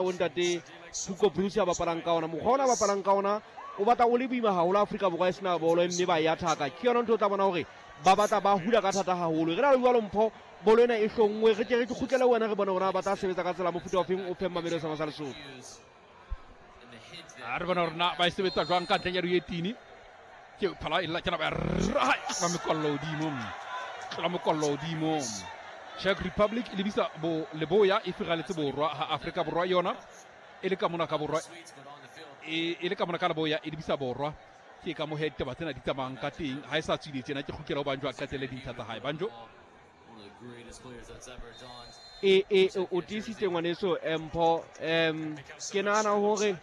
O ntate Hugo Broos a bapalang ka ona, mokgwa ona a bapalang ka ona o batla o le boima haholo. Afrika Borwa e sena bolo mme ba e athaka, ke yona ntho o tla bona hore ba batla ba hula ka thata haholo. Re na le jwalo mpho bolo ena e hlonngwe, re ke re ke kgutlele wena re bone hore ba tla sebetsa ka tsela mofuta ofeng o feng Mamelodi sa Lesotho. A re bona hore na ba e sebetsa jwang ka ntleng ya dietini. Ke phala e lla ke ba raha ba mekollo hodimo, tlola mokollo hodimo. Czech Republic e lebisa bo leboya e firaletse borwa ha Afrika Borwa yona e le ka mona ka borwa e le ka mona ka leboya e lebisa borwa. Ke ka mo he ditaba tsena di tsamayang ka teng. Ha e sa tswile tjena ke kgutlela ho Banjo a qetelle dintlha tsa hae. Banjo e e o tiisitse ngwaneso mpho. Ke nahana hore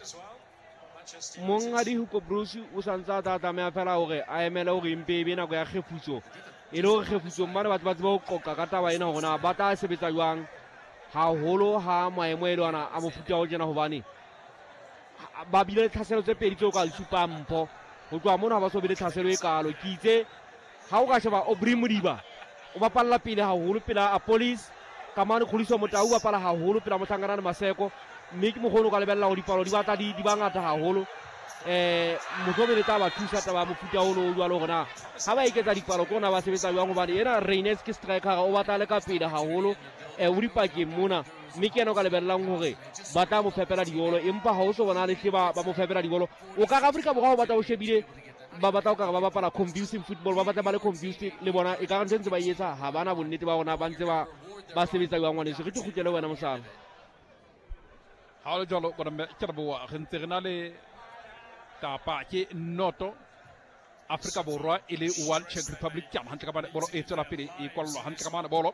monghadi Hugo Broos o santse a tla tlameha fela hore a emele hore empe e be nako ya kgefutso, e le hore kgefutsong mane batho ba tsebe ho qoqa ka taba ena hore na ba tla sebetsa jwang haholo ha maemo e le ona a mofuta o tjena, hobane ba bile le tlhaselo tse pedi tseo ka di supang mpho. Ho tloha mona ha ba so be le tlhaselo e kalo. Ke itse ha o ka sheba Aubrey Modiba o bapalla pele haholo pela Apolis, Kamane Kgodiso Motau o bapala haholo pela Mohlankana le Maseko, mme ke mokgwa o ka lebella hore dipalo di batla di ba ngata haholo. Mohlomong le tla ba thusa taba ya mofuta ono o jwalo hore na ha ba eketsa dipalo ke hona ba sebetsa jwang, hobane ena Reines ke striker o batla le ka pele haholo, o dipakeng mona, mme ke yena o ka lebellang hore ba tla mo fepela dibolo, empa ha o so bona le hle ba mo fepela dibolo. O ka re Afrika Borwa o batla o shebile ba batla o ka re ba bapala confusing football, ba batla ba le confused le bona, e ka re ntho ntse ba e etsa ha bana bonnete ba rona ba ntse ba ba sebetsa jwang. Ngwaneso re ke kgutlele wena mosala. Ha o le jwalo bona mme ke re boa re ntse re na le kapa ke noto Afrika Borwa e le one Czech Republic ke hantle ka mane bolo e tswela pele e kwallwa hantle ka mane bolo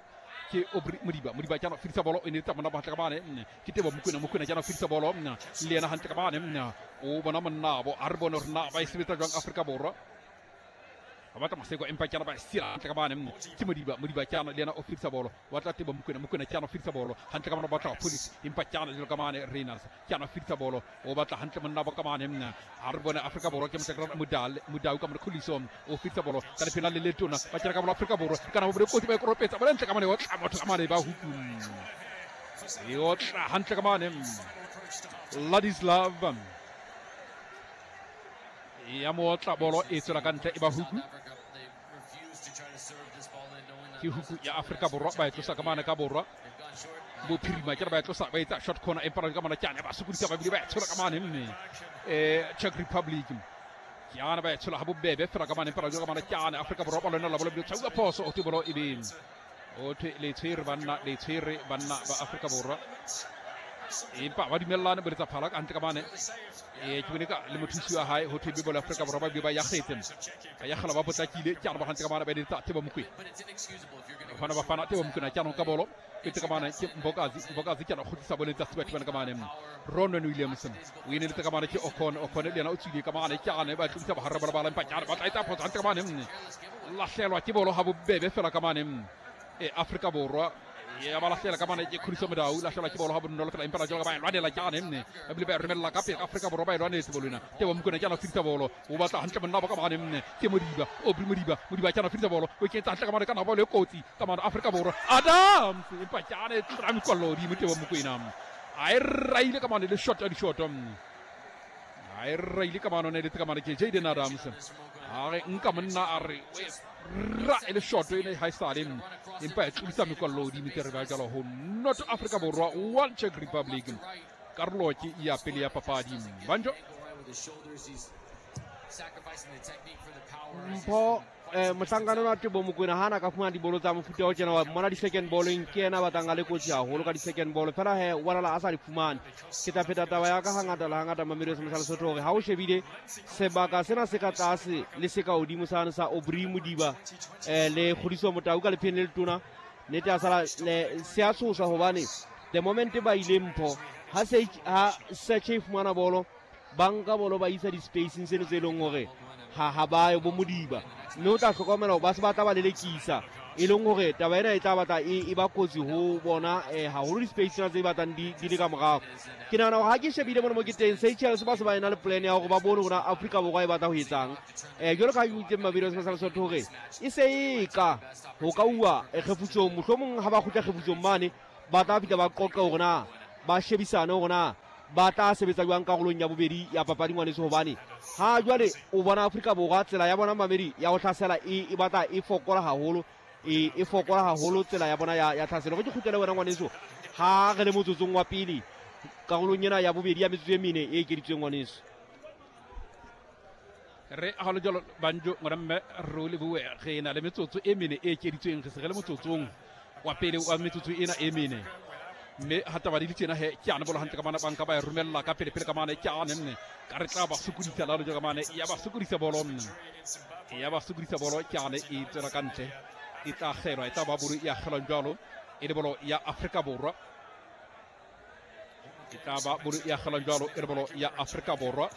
ke Aubrey Modiba. Modiba ke ana fedisa bolo e ne tsa mona hantle ka mane ke Tebo Mokoena. Mokoena ke ana fedisa bolo le yena hantle ka mane o bona monnabo. A re bone hore na ba e sebetsa jwang Afrika Borwa. Ba batla Maseko empa ke ana ba e sira hantle ka mane ke Modiba. Modiba ke ana le yena o fedisa bolo, wa tla Tebo Mokoena. Mokoena ke ana fedisa bolo hantle ka mane, o batla Police empa ke ana jalo ka mane Reynolds ke ana fedisa bolo o batla hantle monna ba ka mane. A re bone Afrika Borwa ke motlakela Modale Modau ka mone Khuliso o fedisa bolo ka lephela le letona ba kena ka bolo Afrika Borwa kana bo kotsi ba e koropetsa bolo ntle ka mane o tla motho ka mane ba huku e otla hantle ka mane Ladislav ya mo otla bolo e tswela ka ntle e ba huku. Ke huku ya Afrika Borwa ba e tlosa ka mane ka borwa bophirima ke re ba e tlosa ba etsa short corner empa ka mona ke ba sokodisa ba bile ba e tshola ka mane mme Czech Republic ke ana ba e tshola ha bobebe fela ka mane empa ka mona ke ana Afrika Borwa ba lona la bolo bile tshauwa phoso o te bolo e be o thwe le tshwere banna le tshwere banna ba Afrika Borwa empa ba dumellane bo letsa phala ka hantle ka mane ke bone ka le mothusi wa hae ho thwe be bolo Afrika Borwa ba bile ba yakgetse ba yakgela ba potlakile ke ana ba hantle ka mane ba etsa Thebo Mokoena bafana bafana Thebo Mokoena ke ana ka bolo ke ka mane ke Mbokazi. Mbokazi ke ana kgutlisa bolo etsa Stuart bana ka mane Ronwen Williams o eneletse ka mane ke Okon. Okon le yena o tswile ka mane ke ana ba tlodisa bahare ba bala empa ke ana ba tla etsa phoso hantle ka mane lahlelwa ke bolo ha bobebe fela ka mane Afrika Borwa ya ba lahlela ka mane ke Khuliso Modau lahlelwa ke bolo ha bonolo fela empa la jalo ka ba e lwanela ke ane mme ba bile ba e romella ka pele Afrika Borwa ba e lwanetse bolo ena. Tebo Mokoena ke ana fedisa bolo o batla hantle monna ba ka mane mme ke Modiba Aubrey Modiba. Modiba ke ana fedisa bolo o ketsa hantle ka mane ka na bolo e kotsi ka mane Afrika Borwa Adams empa ke ane tlola mekwallo hodimo Tebo Mokoena a e raile ka mane le shot ya dishoto a e raile ka mane o ne letse ka mane ke Jaden Adams a re nka monna a re ra e le shoto ene ha e sale empa e tlodisa mekwallo hodimo ke re ba jalo ho North Africa Borwa one Czech Republic karolo ke ya pele ya papadi Banjo. Mpho mohlankana wa Tebo Mokoena ha na ka fumana dibolo tsa mofuta o tjena wa mmona di-second balleng ke yena a batlang a le kotsi haholo ka di-second ball fela he wa a sa di fumane. Ke tla pheta taba ya ka hangata le hangata Mamelodi sa Lesotho hore ha o shebile sebaka sena se ka tlase le se ka hodimo sane sa Aubrey Modiba le Kgodiso Motau ka lepheng le letona nnete a sala le se a tshosa hobane the moment ba ile mpho ha se ha Search e fumana bolo ba nka bolo ba isa di-spacing seno tse e leng hore ha ba yo bo Modiba mme o tla hlokomela hore ba se ba tla ba lelekisa e leng hore taba ena e tla batla e ba kotsi ho bona haholo di-space tsena tse batlang di le ka morao. Ke nahana hore ha ke shebile mona mo ke teng Seychelles ba se ba ena le plan ya hore ba bone hore Afrika Borwa e batla ho etsang. Jwalo ka ha ke utlwile Mamelodi sa Lesotho hore e se e ka ho ka uwa kgefutsong mohlomong ha ba kgutla kgefutsong mane ba tla fihla ba qoqe hore na Ba shebisane hore na ba tla sebetsa jwang karolong ya bobedi ya papadi ngwaneso, hobane ha jwale o bona Afrika Borwa tsela ya bona mamedi ya ho hlasela e batla e fokola haholo, e fokola haholo tsela ya bona ya tlhaselo. Re ke kgutlele wena ngwaneso ha re le motsotsong wa pele karolong ena ya bobedi ya metsotso e mene e ekeditsweng ngwaneso. Re ha le jalo banjo ngwana mme re o lebohe, re na le metsotso e mene e ekeditsweng, re se re le motsotsong wa pele wa metsotso ena e mene, mme ha taba di le tjena he ke ane bolo hantle ka mane, banka ba e romella ka pele pele ka mane, ke ane nne ka re tla ba sokodisa lalo ka mane, ya ba sokodisa bolo nne, ya ba sokodisa bolo, ke ane e tswela ka ntle, e tla kgelwa, e tla ba bolo ya kgelwang jwalo, e le bolo ya Afrika Borwa, e tla ba bolo ya kgelwang jwalo, e le bolo ya Afrika Borwa,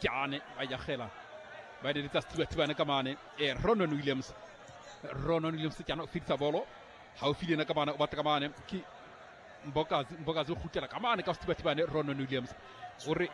ke ane ba ya kgela ba eletsa sethibathibane ka mane, e Ronan Williams, Ronan Williams ke ane o fetisa bolo haufi le yena ka mane, o batla ka mane ke Mbokazi, Mbokazi o kgutlela ka mane ka sethibathibane, Ronan Williams o re